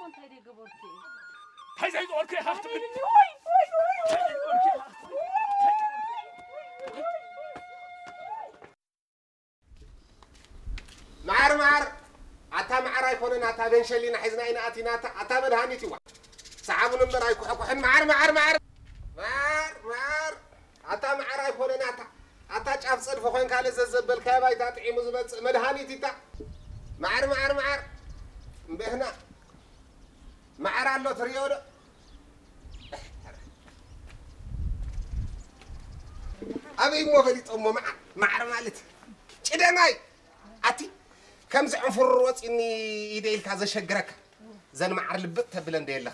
እንታይ ደይ ገበርኩ? እንታይ ዘይገበርኩ ኢኻ ክትብል? መዓር መዓር ኣታ መዓር ኣይኮነን ኣታ በንሸሊና ሒዝና ኢና ኣቲና ኣታ ኣታ መድሃኒት ይዋ ሰሓቡን እምበር ኣይኩሕኩሕን መዓር መዓር መዓር መዓር መዓር ኣታ መዓር ኣይኮነን ኣታ ኣታ ጫፍ ጸድፊ ኮይንካ ለዘዘበልካዮ ባይታ ጥዒሙ ዝመጽእ መድሃኒት ይታ መዓር መዓር መዓር እምበህና መዓር ኣሎ ትሪኦ ዶ ኣበይ እሞ ፈሊጦሞ መዓር መዓር ማለት ጭደናይ ኣቲ ከምዚ ዕንፍሩር ወፂኒ ኢደ ኢልካ ዘሸግረካ ዘን መዓር ልብጥ ተብለ እንደ የለኻ